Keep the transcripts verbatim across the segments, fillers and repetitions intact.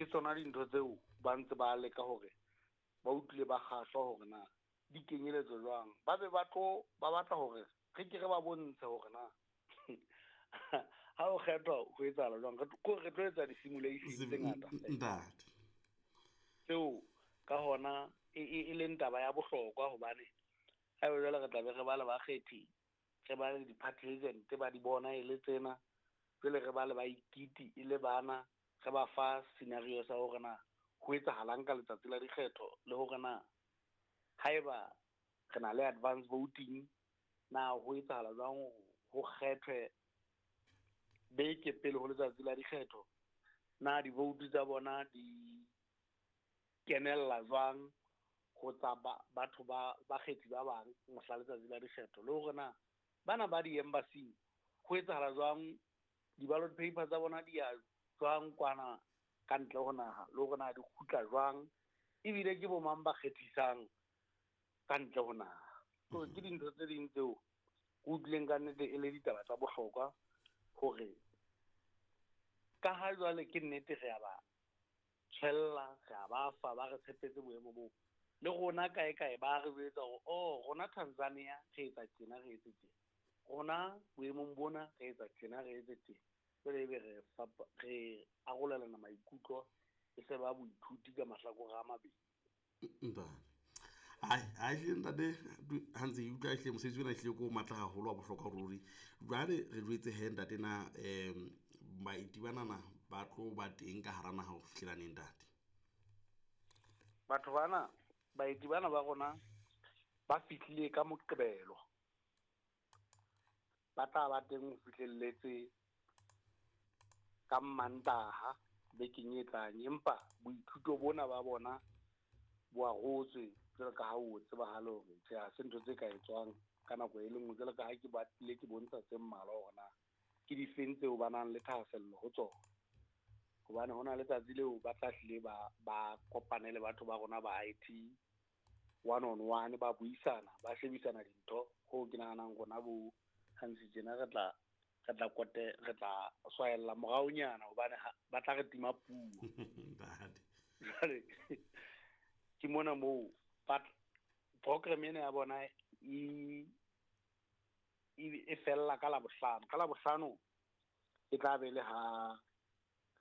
Ke tsona dintho tseo ba ntse ba leka hore ba utlwile ba kgahlwa hore na di kenyeletswa jwang. Ba be ba tlo ba batla hore re ke re ba bontshe hore na ha o kgethwa ho etsahala jwang. Re tlo re tlo etsa di-simulation tse ngata ntate tseo ka hona e e leng taba ya bohlokwa hobane haeba jwale re tla be re ba le bakgethi, re ba le di-party agent ba di bona e le tsena, jwale re ba le baikiti e le bana, re ba fa scenario sa hore na ho etsahalang ka letsatsi la dikgetho le hore na haeba re na le advance voting na ho etsahala jwang ho kgethwe beke pele ho letsatsi la dikgetho, na di-vote tsa bona di kenella jwang ho tsa batho ba bakgethi ba bang mohla letsatsi la dikgetho, le hore na bana ba di-embassy ho etsahala jwang di-ballot paper tsa bona di ya jwang kwana ka ntle ho naha, le hore na di kgutla jwang, ebile ke bo mang ba kgethisang ka ntle ho naha. So ke dintho tse ding tseo ke utlwileng ka nnete e le ditaba tsa bohlokwa hore ka ha jwale ke nnete re a ba tshwella, re a ba fa, ba re tshepetse boemo boo. Le rona kae kae ba re jwetsa hore oh rona Tanzania re etsa tjena, re etse tjena, rona boemong bona re etsa tjena, re etse tjena. Jwale ebe re re arolelana maikutlo e se ba boithuti ka mahlakore a mabedi. Ntate ai ai hle ntate ha ntse ke utlwa hle mosebetsi ona hlile ko matla haholo wa bohlokwa ruri. Jwale re jwetse he ntate na um baeti banana ba tlo ba teng ka hara naha ho fihlela neng ntate? Batho bana baeti bana ba rona ba fihlile ka Moqebelo, ba tla ba teng ho fihlelletse ka Mantaha bekeng e tlang, empa boithuto bona ba bona bo arotswe jwalo ka ha o tsebahale hore tjhe ha se ntho tse ka etswang ka nako e le nngwe, jwalo ka ha ke batlile ke bontsha tse mmalwa hore na ke difeng tseo ba nang le thahasello ho tsona. Hobane ho na letsatsi leo ba tla hlile ba ba kopane le batho ba rona ba I T one on one, ba buisana, ba shebisana dintho. Hoo ke nahanang rona bo Hansi tjena re tla re tla kote re tla swaella moraonyana hobane ba tla re tima puo. Jwale ke mona moo program ena ya bona e e fella ka Labohlano. Ka Labohlano e tla be le ha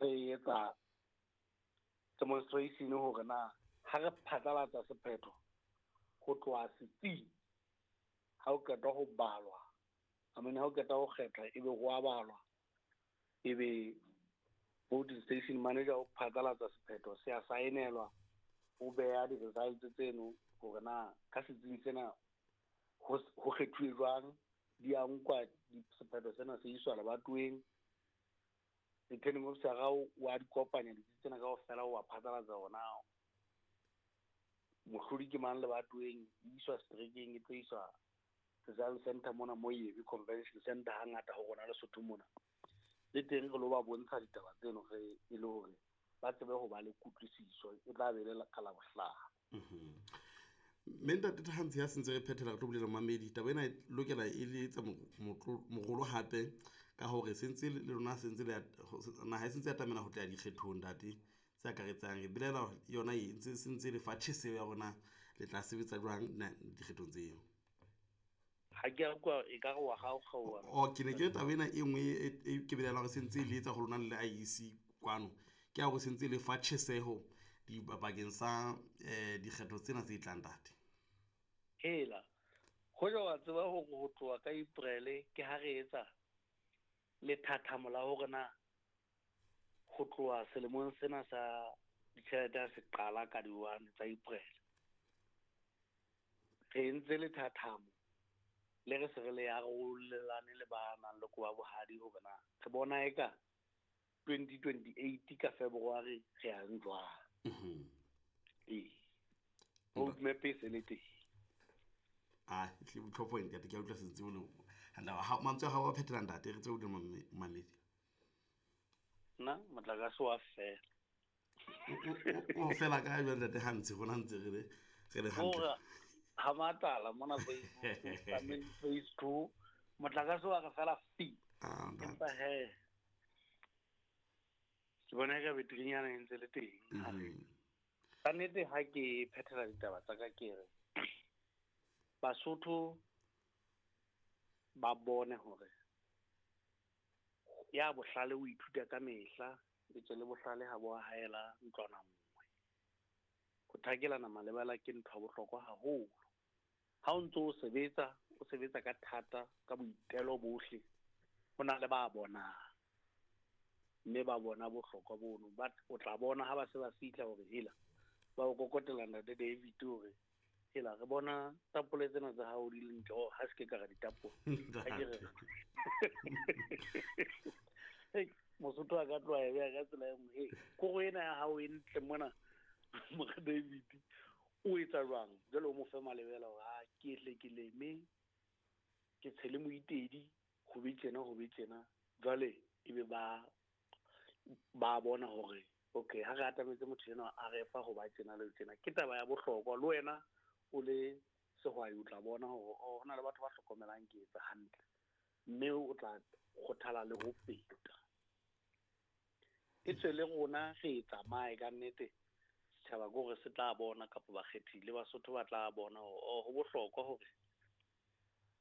re etsa demonstration hore na ha re phatlalatsa sephetho ho tloha setsing ha o qeta ho balwa, I mean ha o qeta ho kgetha ebe ho a balwa, ebe voting station manager o phatlalatsa sephetho se a saenelwa, o beha di-results tseno hore na ka setsing sena ho kgethuwe jwang, di a nkwa sephetho sena se iswa lebatoweng. Returning officer o a di kopanya ditsi tsena kaofela, o a phatlalatsa hore na mohlodi ke mang lebatoweng, e iswa seterekeng, e tlo iswa result center mona mo Yebe Convention Center hangata ho rona Lesotho mona. Le teng re lo ba bontsha ditaba tseno re e le hore ba tsebe ho ba le kutlwisiso, e tla be le ka Labohlano. Mme ntate Hansi ha sentse re phethela re tlo bolela mamedi taba ena e lokela e le etsa morolo hape ka hore sentse le lona sentse le naha e sentse ya atamela ho tla dikgethong ntate tse akaretsang re belela yona e ntse sentse le fa tjheseho ya rona le tla sebetsa jwang dikgethong tseo. Ha ke a utlwa e ka re wa kgaokgaoha. O ke ne ke taba ena e nngwe e ke belela hore sentse le etsa ho lona le I E C kwano ke ya hore sentse le fa tjheseho dibakeng sa dikgetho tsena tse tlang ntate. Hela hoja wa tseba hore ho tloha ka April ke ha re etsa lethathamo la hore na ho tloha selemong sena sa ditjhelete ha se qala ka di-one tsa April, re entse lethathamo le re se re le arolelane le ba nang le koba bohadi hore na re bona eka twenty twenty-eight ka February re yang jwang. Ee, roadmap e se le teng. Ah, hle botlhokwa ntate ke a utlwa sentse bolo. Ha mantswe a hao a phethela ntate re tsebe ho mamedi. Nna motlakase wa fela. O fela ka jwang ntate Hansi rona ntse re le re le hantle. Ha matala mona phase phase two motlakase wa re fela fi. Empa he Ke bona eka beterinyana e ntse le teng. Ka nnete ha ke phethela ditaba tsa ka ke re Basotho ba bone hore ya bohlale o ithuta ka mehla, etswe le bohlale ha bo haela ntlwana nngwe. Ho thakelana malebela ke ntho ya bohlokwa haholo. Ha o ntso o sebetsa, o sebetsa ka thata, ka boitelo bohle, ho na le ba bonang. Mme ba bona bohlokwa bono. Ba o tla bona ha ba se ba fihla hore hela ba o kokotela ntate David hore hela re bona tapole tsena tsa hao di le ntle, oh ha se ke ka re ditapole. Ha ke re. Hey, Mosotho a ka tloha e beha ka tsela e nngwe. Hey, koro ena ya hao e ntle mona, Mora David, o etsa jwang? Jwale o mo fe malebela hore ha ke hle ke leme, ke tshele moitedi, ho be tjena, ho be tjena. Jwale ebe ba ba bona hore okay, ha re atametse motho enwa a re fa ho ba tjena le tjena. Ke taba ya bohlokwa le wena o le sehwai o tla bona hore oh, ho na le batho ba hlokomelang ke etsa hantle, mme o tla kgothala le ho feta. E tswe le rona re e tsamaye ka nnete, setjhaba ke hore se tla bona kapa bakgethi le Basotho ba tla bona hore oh, ho bohlokwa hore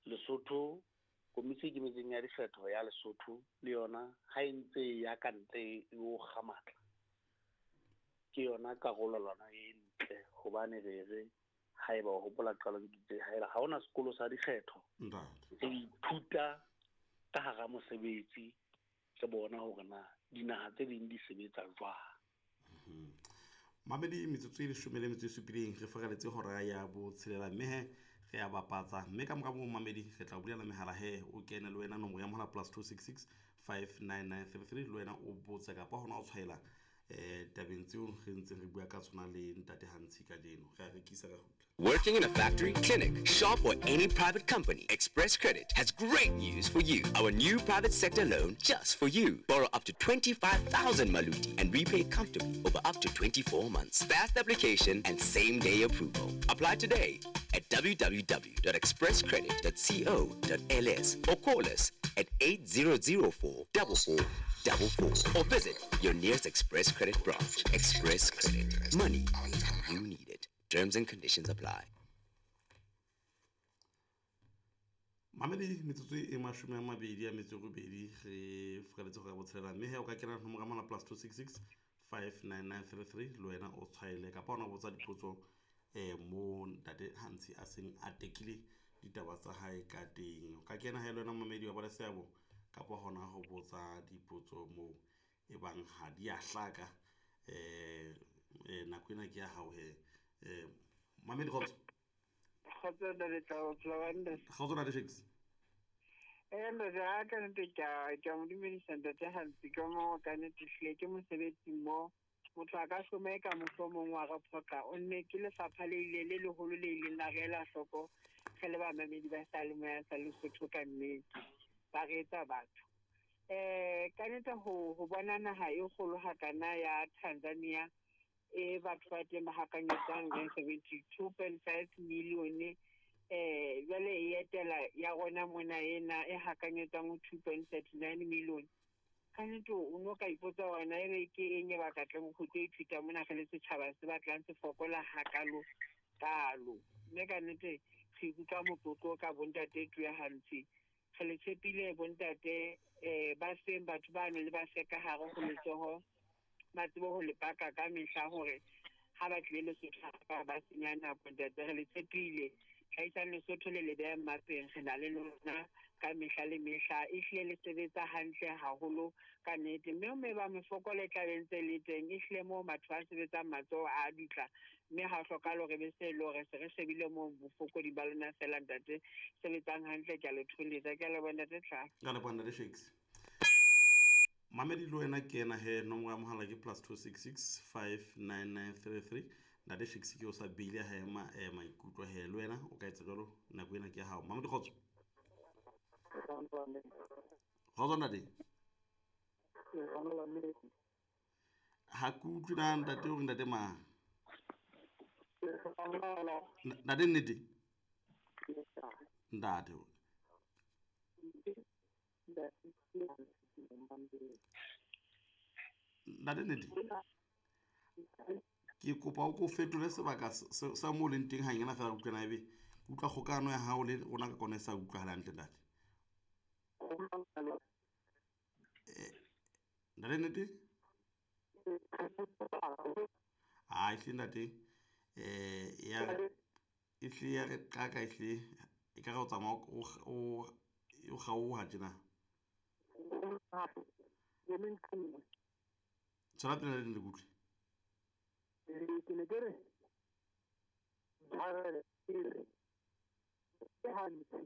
Lesotho, komiti e ikemetseng ya dikgetho ya Lesotho le yona ha e ntse e ya ka ntle e o kga matla, ke yona karolelwana e ntle hobane re re haeba o hopola qalong ke itse haeba ha hona sekolo sa dikgetho, re ithuta ka hara mosebetsi, re bona hore na dinaha tse ding di sebetsa jwang. Mamedi, metsotso e leshome le metso e supileng re feraletse hora ya botshelela, mme he re a bapatsa, mme ka mora moo mamedi re tla o bulela mehala he o kene le wena nomoro ya mohala plus two six six five nine nine three three le wena o botse kapa hona o tshwaela eh tabeng tseo re ntseng re bua ka tsona le ntate Hantshi kajeno. Re a rekisa re kgutla. Working in a factory, clinic, shop, or any private company, Express Credit has great news for you. Our new private sector loan just for you. Borrow up to twenty-five thousand Maluti and repay comfortably over up to twenty-four months. Fast application and same-day approval. Apply today at w w w dot express credit dot co dot l s or call us at eight zero zero four double four double four or visit your nearest Express Credit branch. Express Credit. Money you need it. Terms and conditions apply. Mamedi, metsotso e mashome a mabedi a metso e robedi re feraletse hora ya botshelela, mme he o ka kena nomoro ya mohala plus two six six five nine nine three three le wena o tshwaele kapa ona o botsa dipotso eh mo ntate Hantshi a seng a tekile ditaba tsa hae ka teng. O ka kena he le wena mamedi wa ba le seabo kapa hona ho botsa dipotso moo e bang ha di a hlaka. Eh, eh, nako ena ke ya hao he. Eh, mamedi kgotso. Kgotso ntate Tlao, phela hantle. Kgotso ntate Shakes. Eh, ntate, ha ka nnete ke a, ke a mo dumedisa ntate Hantshi ka moo ka nnete hlile ke mosebetsi mo. Motho a ka hloma eka mohlomong wa re phoqa. O nne ke lefapha le ile le leholo le ileng la re ela hloko re le bamamedi ba seyalemoya sa Lesotho ka nnete. Ba re etsa batho. Eh, ka nnete ho, ho bona naha e kgolo hakana ya Tanzania e batho ba teng ba hakanyetsang seventy-two point five million, eh, jwale e etela ya rona mona ena e hakanyetsang ho two point thirty-nine million. Ka nnete o no ka ipotsa hore na ebe ke eng e ba ka tlang ho tlo ithuta mona re le setjhaba se batlang se fokola hakalo kalo. Mme ka nnete re ikutlwa motlotlo ka bontate Tuya Hantshi. Re le tshepile bontate, eh, ba seng batho bano le ba se ka hare ho letsoho, ba tsebe ho le paka ka mehla hore ha ba tlile Lesotho ba ba senya nako. Ntate re le tshepile, hlahisang Lesotho le le beha mmapeng, re na le lona ka mehla le mehla. Ehlile le sebetsa hantle haholo ka nnete, mme mme ba mefokolo e tla be ntse le teng. Ehlile moo batho ba sebetsang matsoho a dutla, mme ha ho hlokahale hore be se e le hore se re shebile moo bofokodi ba lona feela. Ntate sebetsang hantle, ke a le tholetsa. Ke a leboha ntate Tlhaho. Ke a leboha ntate Shakes. Mamedi le wena ke ena he, nomoro ya mohala ke plus two six six five nine nine three three. Ntate Shakes ke o sa beile ha ema, eh, maikutlo he, le wena o ka etsa jwalo, nako ena ke ya hao. Mamedi kgotso. Kgotso ntate. Ha ke utlwe na ntate o re ntate mang? Ntate nnete? Ntate. Ntate Nnete ke kopa o ko fetole sebaka sa mo leng teng hanyana fela utlwana ebe utlwa kgokano ya hao le rona ka kona e sa utlwahala hantle ntate. Ntate Nnete ha ehlile ntate eh ya ehlile ya re qaka ehlile e ka re o tsamaya o o kgaoha tjena. Tswela pele le kutlwe. Ke ne ke re ke hantle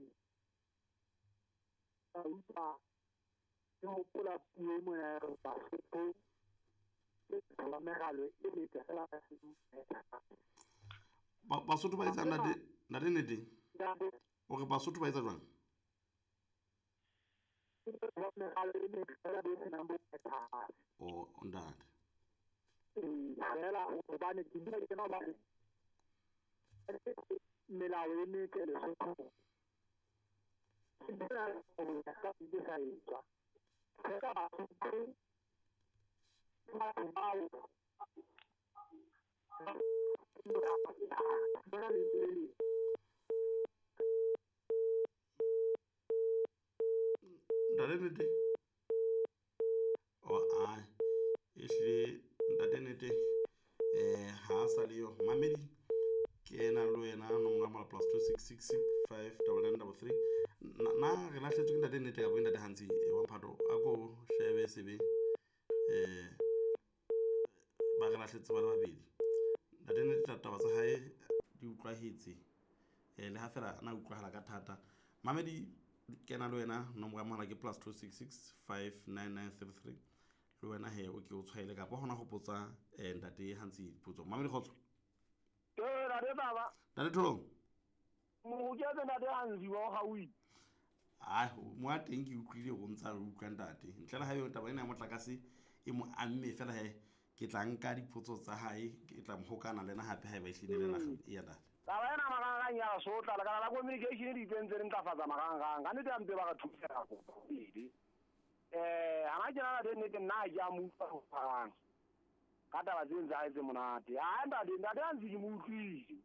ka utlwa ke hopola puo mona ya re Basotho ke ba meralo e metle fela. Basotho ba etsa ntate ntate Nnete o re Basotho ba etsa jwang? O ntate fela hobane ke dula ke na ba melao e metle Lesotho ke sa etswa fela Basotho batho bao ntate Nnete o a ehlile ntate Nnete eh ha sa le yo mamedi ke ena le wena nomoro ya mohala plus two six six six five double nine double three na re lahletswe ke ntate Nnete kapa ke ntate Hantsi wa Mphato a ko shebe sebe eh ba re lahletse ba le babedi. Ntate Nnete taba tsa hae di utlwahetse eh le ha fela na utlwahala ka thata. Mamedi kena le wena nomoro ya mohala ke plus two six six five nine nine three three le wena he o ke o tshwaele kapa hona ho potsa eh ntate Hantsi dipotso. Mamedi kgotso. Ee ntate baba. Ntate Tholong. Mo ke tse ntate Hantsi wa gaufi. Ah mo a teng ke utlwile go ntsa re utlwa ntate. Ntle le ha yo taba ena ya motlakase e mo amme fela he ke tla nka dipotso tsa hae ke tla mo hokana le ena hape haeba e hlile le naga e ya ntate. Taba ena marangrang ya sotla lekala la communication di tsentse re ntlafatsa marangrang ka nnete ya mpe ba re thusa go pele. Eh hana ke nana teng nnete nna ke a mo utlwa ho parang ka taba tse ntse ha etse monate. Ha ntate ntate a ntse ke mo utlwile.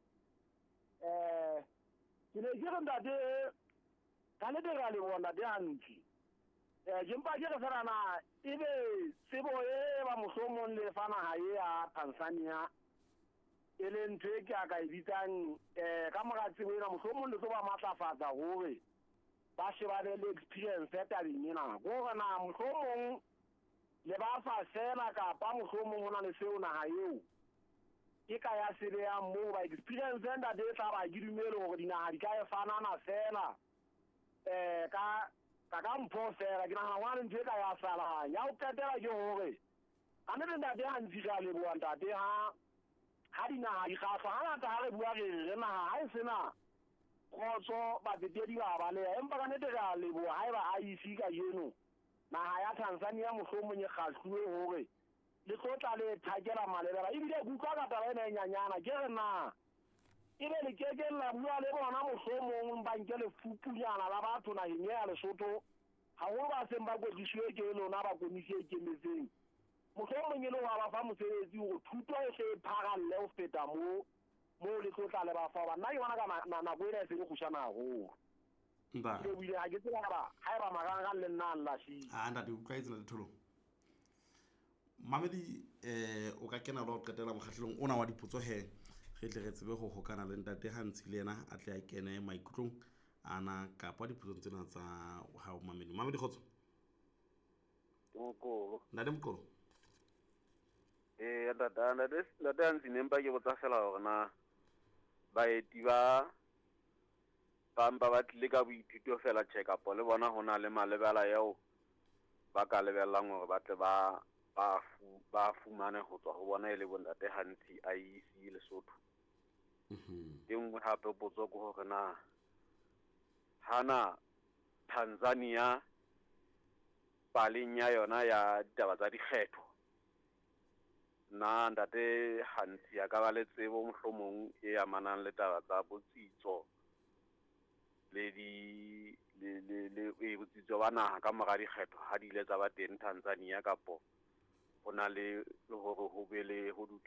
Eh ke ne ke re ntate ka nnete re a leboha ntate Hantsi. Eh ke mpa ke re fela na ebe tsebo e ba mohlomong le fa naha e ya Tanzania e le ntho e ke a ka e bitsang eh ka mora tsebo ena mohlomong le tlo ba matlafatsa hore ba shebane le experience ya tabeng ena. Hore na mohlomong le ba fa fela kapa mohlomong ho na le seo naha eo ke ka ya sebeyang moo ba experience ntate e tla ba ke dumele hore dinaha di ka e fanana fela eh ka ka ka mpho fela ke nahana hona le ntho e ka ya salang ya ho qetela ke hore ka nnete ntate Hantsi re a leboha ntate ha ha dinaha di kgahlwa hangata ha re bua re re naha ha e sena kgotso batsetedi ba baleha empa ka nnete re a leboha haeba I E C kajeno naha ya Tanzania mohlomong e kgahluwe hore le tlo tla le thakela malebela ebile ke utlwa ka taba ena e nyanyana ke re na ebe le keke la bua le bona mohlomong ba nke lefupunyana la batho naheng ya Lesotho haholo ba seng ba kwetliswe ke lona ba komisi e ikemetseng mohlomong e le wa ba fa mosebetsi hore thuto e hle e pharalle ho feta moo moo le tlo tla le ba fa hoba nna ke bona ka nako ena e se e kgutshwane haholo. Ntate ke buile ha ke tsebe haeba haeba marangrang le nna a nlahlile. Ah ntate utlwa etse ntate Tholong. Mamedi eh o ka kena le ho qetela mokgahlelong ona wa dipotso he re tle re tsebe ho hokana le ntate Hantsi le yena a tle a kene maikutlong ana kapa dipotsong tsena tsa hao mamedi. Mamedi kgotso. Ke Mokolo. Ntate Mokolo. Eh ntate ntate ntate Hantsi ne mpa ke botsa fela hore na baeti ba ba mpa ba tlile ka boithuto fela tjhe kapa le bona ho na le malebela eo ba ka lebellang hore ba tle ba ba fu ba fumane ho tswa ho bona e le bontate Hantsi I E C Lesotho. Mhm. E nngwe hape potso ke hore na hana Tanzania paleng ya yona ya ditaba tsa dikgetho na ntate Hantsi a ka ba le tsebo mohlomong e amanang le taba tsa botsitso le di le le le e botsitso ba naha ka mora dikgetho ha di ile tsa ba teng Tanzania kapo Ho na le le hore ho be le ho